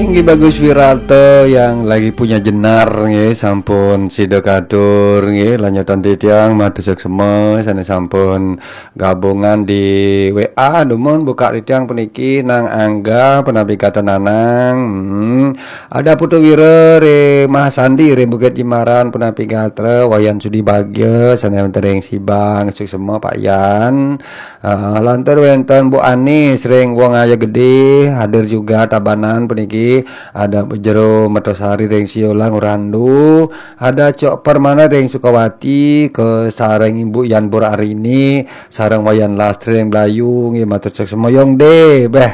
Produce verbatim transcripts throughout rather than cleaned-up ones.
Nggih, Bagus Wirata yang lagi punya jenar nggih, sampun sida katur nggih, lanjutan titiang matur suksma sane sampun gabungan di W A, dumun buka titiang puniki nang Angga punapi gatra Nanang. Hmm. Ada Putu Wira re Mahasandi re Bukit Jimaran punapi gatra, Wayan Sudi Bagya sane wonten ring Sibang, suksma Pak Yan. Ah, lantur wenten Bu Anis ring Wong Aye Gede, hadir juga Tabanan puniki, ada Bu Jero Metosari ring Siolang Urandu, ada Cok Permana ring Sukawati, ke sareng Ibu Yan Bur Arini, sareng Wayan Lastri ring Blayu, nggih matur suksma Yong De, beh.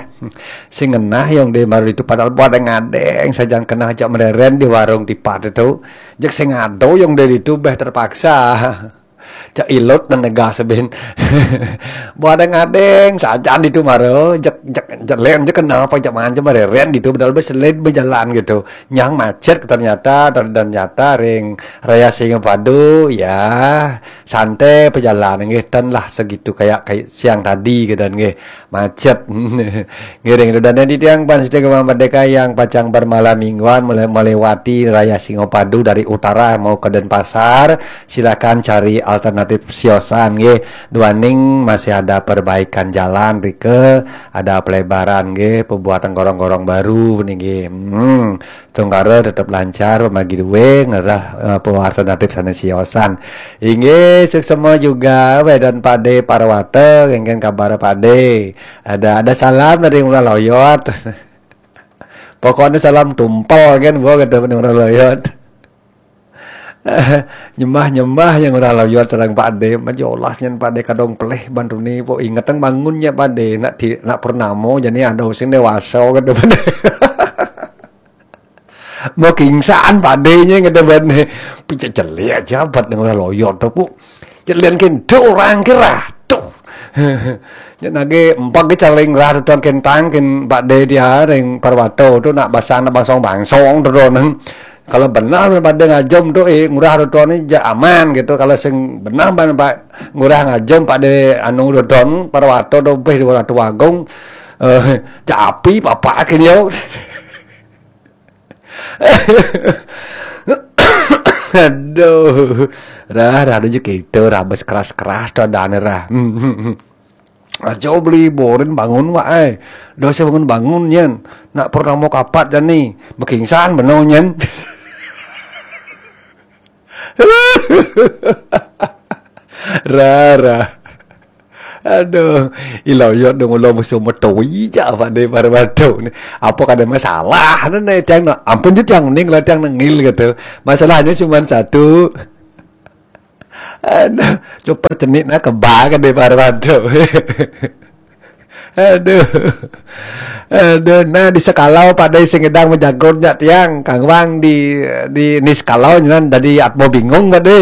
Sing ngenah Yong De maru itu padahal pada ngadeng, sajan kenah ajak mereren di warung tipat itu. Jek sing ado Yong De itu, beh terpaksa. Cak ilut nang negah sebin. Buat ngadeng sajan ditu mara, jek, jek, jek len jek kenapa jek manjem reren ditu bedal beselid bejalan gitu. Nyang macet ternyata, dan, dan nyata ring Raya Singapadu, ya, santai pejalan nggih, ten lah segitu kayak, kayak siang tadi gitu nggih. Macet. Ngiring dudane di tiang pan sedaya Merdeka yang pacang bermalam mingguan mele-, melewati Raya Singapadu dari utara mau ke Denpasar, silakan cari alternatif siosan nggih. Duaning masih ada perbaikan jalan rike, ada pelebaran nggih, pembuatan gorong-gorong baru nggih. Hmm. Tunggara tetep lancar, pamagi duwe ngerah, eh, pewarta natip sane siosan. Inggih, suksema juga Wedan Pade Parwata, kengken kabar Pade. Ada, ada salam dari Ngurah Loyot. Pokoknya salam tumpel kan, gua kata Ngurah Loyot. Nyembah-nyembah yang Ngurah Loyot sareng Pade, majolas nyen Pade kadong pelih bantu ni, po ingetang bangunnya Pade, nak di, nak purnamo, jadi ada sing dewasa kata Pade. Mau kingsan padenya ngedebane. Pijak jelik aja bat nang ora loyo to, Pu. Jelian kendo orang kira. Tuh. Yen nage empag ke caling rah tuan kentang ken Pak De dia ring Parwato tu nak basang nak bangsong-bangsong tu donen. Kalau benar pada ngajom tu eh ngurah tu donen ja aman gitu. Kalau sing benar ban Pak ngurah ngajom Pak De anu tu don Parwato tu beh dua ratu agung. Eh, ja api papa kini yo. Aduh. Rah, rah, aduh, kita rah, bes keras-keras tu adanya rah. Hmm, hmm, hmm. Aja beli borin bangun, wak, eh. Dosa bangun-bangun, nyen. Nak pernah mau kapat, jani. Bekingsan, bener, nyen. Rara. Aduh, ilo yo dong ulo musuh metoi ja Pak De Parwado ni. Apa kada masalah ni tiang nak. Ampun je tiang ning lah tiang nengil gitu. Masalahnya cuma satu. Aduh, coba cenik nak kebal kan De Parwado. Aduh. Aduh, nah di sekalau Pak De sing ngedang menjagur nyak tiang, kangwang di, di ni sekalau nyan tadi atmo bingung Pak De.